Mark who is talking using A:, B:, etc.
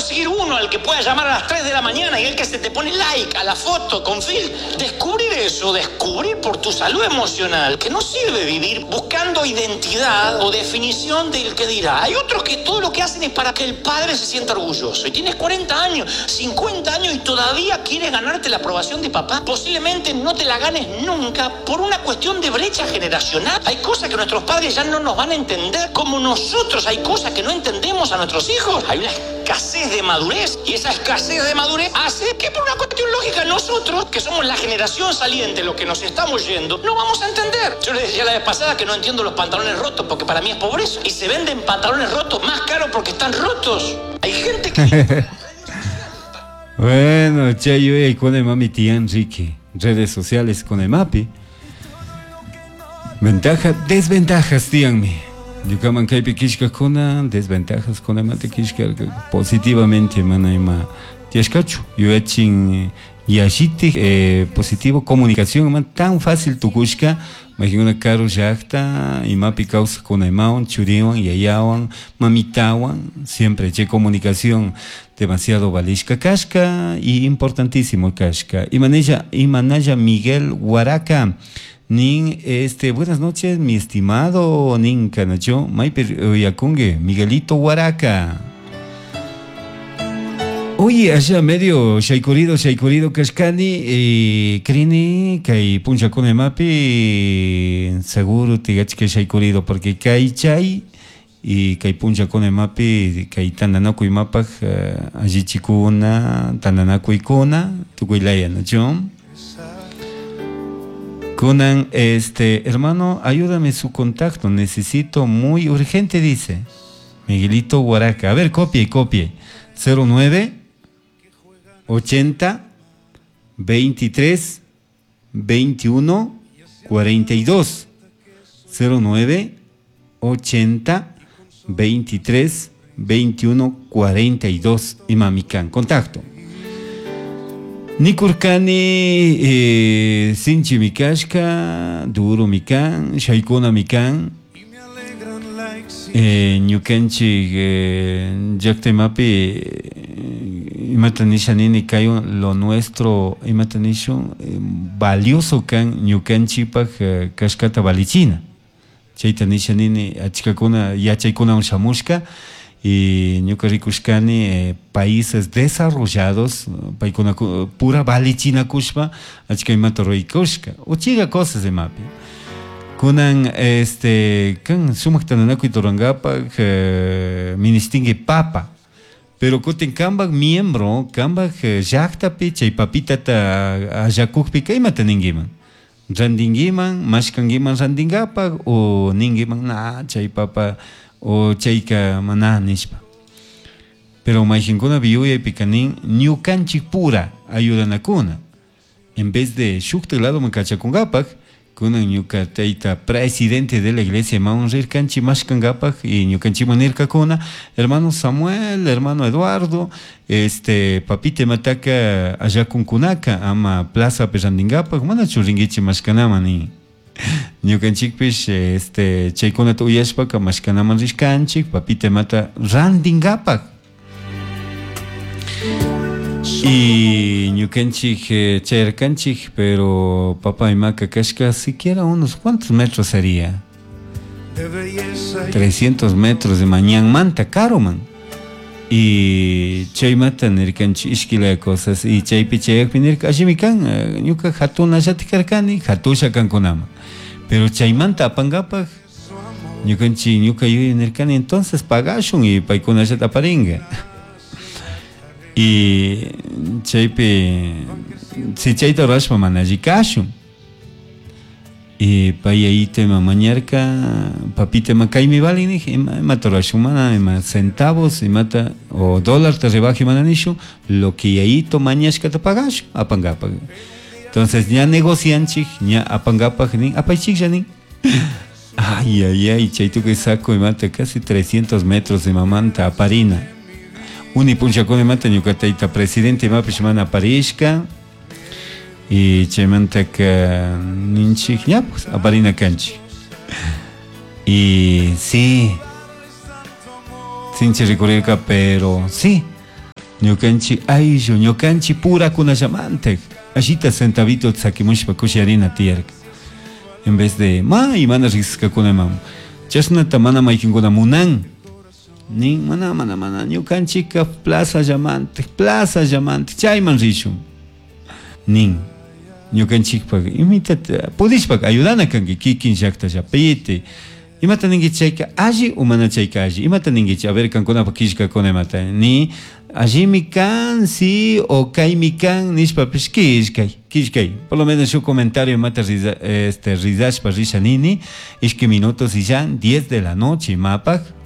A: conseguir uno al que pueda llamar a las 3 de la mañana y el que se te pone like a la foto con Phil. Descubrir eso, descubrir por tu salud emocional que no sirve vivir buscando identidad o definición del que dirá. Hay otros que todo lo que hacen es para que el padre se sienta orgulloso. Y tienes 40 años, 50 años y todavía quieres ganarte la aprobación de papá. Posiblemente no te la ganes nunca por una cuestión de brecha generacional. Hay cosas que nuestros padres ya no nos van a entender, como nosotros hay cosas que no entendemos a nuestros hijos. Hay una escasez de madurez y esa escasez de madurez hace que por una cuestión lógica nosotros, que somos la generación saliente, lo que nos estamos yendo, no vamos a entender. Yo les decía la vez pasada que no entiendo los pantalones rotos porque para mí es pobreza. Y se venden pantalones rotos más caros porque están rotos. Hay gente que...
B: Bueno, chay yuyaykuna imami tiyan riki redes sociales con imapi. Ventaja, desventajas tiyanmi. Ñukaman kaypi killkakuna desventajas con imata killkarka positivamente mana ima tiyashkachu yuyachin yallitik positivo comunicación ima tan fácil tukushka mayqinuna karu llakta imapi kawsakuna imawan churiwan yayawan mamitawan siempre chay comunicación demasiado valishka kashka y importantísimo kashka. Imanalla, imanalla Miguel Huaraca nin este buenas noches mi estimado nin kanacho maypi uyakunki Miguelito Huaraca. Oye, allá medio shaykurido, shaykurido kashkani, krini, kay punchakuna imapi, seguro tigachka shaykurido, porque kay chay y kay punchakuna imapi, kay tandanakuy imapaj, allichikuna, tandanakuykuna, tukuy laya, ¿no? Kunan, este, hermano, ayúdame su contacto, necesito muy urgente, dice Miguelito Huaraca. A ver, copie, copie. 09 80 23 21 42. 09 80 23 21 42. Imamikan, contacto. Nikurkani, sinchi mikashka, duro mikan, shaykuna mikan, ñukanchik, llakta imapi, imata nisha nini kaywan lo nuestro, imata nishun, valioso kan ñukanchikpak, kashkata valichina. Chayta nisha nini achkakuna yachaykunawan shamushka y ñuka rikushkani, países desarrollados paykuna pura valichinakushpa achka imata ruraykushka uchiga cosas imapi. Kunan este kan sumak tandanakuy rurankapak, ministinki papa, pero kutin kanpak miembro kanpak, llaktapi chay papitata allakukpika imata ninkiman rantinkiman mashkankiman rantinkapak o ninkiman na chay papa o chayka mana nishpa. Pero mayqinkuna yuyaypika nin ñukanchik pura ayudanakuna en vez de shukta ladoman kachakunkapak kunan ñuka tayta presidente de la iglesia imawan rirkanchik mashkankapak y ñukanchikman nirkakuna hermano Samuel, hermano Eduardo, este papita imataka allakunkunaka ama plazapi rantinkapak manachu rinkichik mashkanaman nin. Ñukanchikpish este chaykunata uyashpaka mashkanaman rishkanchik papita imata rantinkapak. Y ñukanchik, chayarkanchik, pero papá imaka kashka siquiera unos cuantos metros sería. 300 metros de mañanmanta karuman. Y chaymata nirkanchik ishkilaya cosas y chaypi chayakpi nirka allimi kan, ñuka hatunallati karkani, hatusha kankunaman. Pero chaymanta apankapak ñukanchik ñuka yuyay nirkani entonces pagashun y paykunallata aparinka. Y chaypi si chayta rurashpa mana alli kashun. Y pay ayita ima mañarka, papita ima kaymi valin nij, imata rurashun mana, ima centavos, imata o dólar te rebaje mana nishun, lo que yayito mañashkata pagashun, apankapak. Entonces ña negocianchik, ña apankapak nin, apaychiklla nin. Ay, ay, ay, chaytukuy saco imata casi 300 metros de mamanta aparina. Uni punchakuna imata ñuka tayta presidente imapish mana aparishka. Y chaymantaka ninchik ña pues aparina kanchik. Y sí, sinchi rikurirka, pero sí. Ñukanchik ayllu, ñukanchik purakunallamantak allita centavito sakimushpa kushiyarina tiyarka. En vez de may mana riqsishkakunaman chashnata mana maykinkuna munan. Nin mana mana mana ñukanchikka plazallamantik, plazallamantik chayman rishun. Nin ñukanchikpak imitata pudishpaka ayudana kanki kikin llaktallapiti. Imata ninki chayka alli o mana chayka alli? Imata ninkichik? A ver kankunapak killkakuna imata ni allimi kan si o kaymi kan nishpapish killkay, killkay. Por lo menos shuk comentario imata riza, este, rizashpa risha nini, ishki minutos y ya 10 de la noche imapak.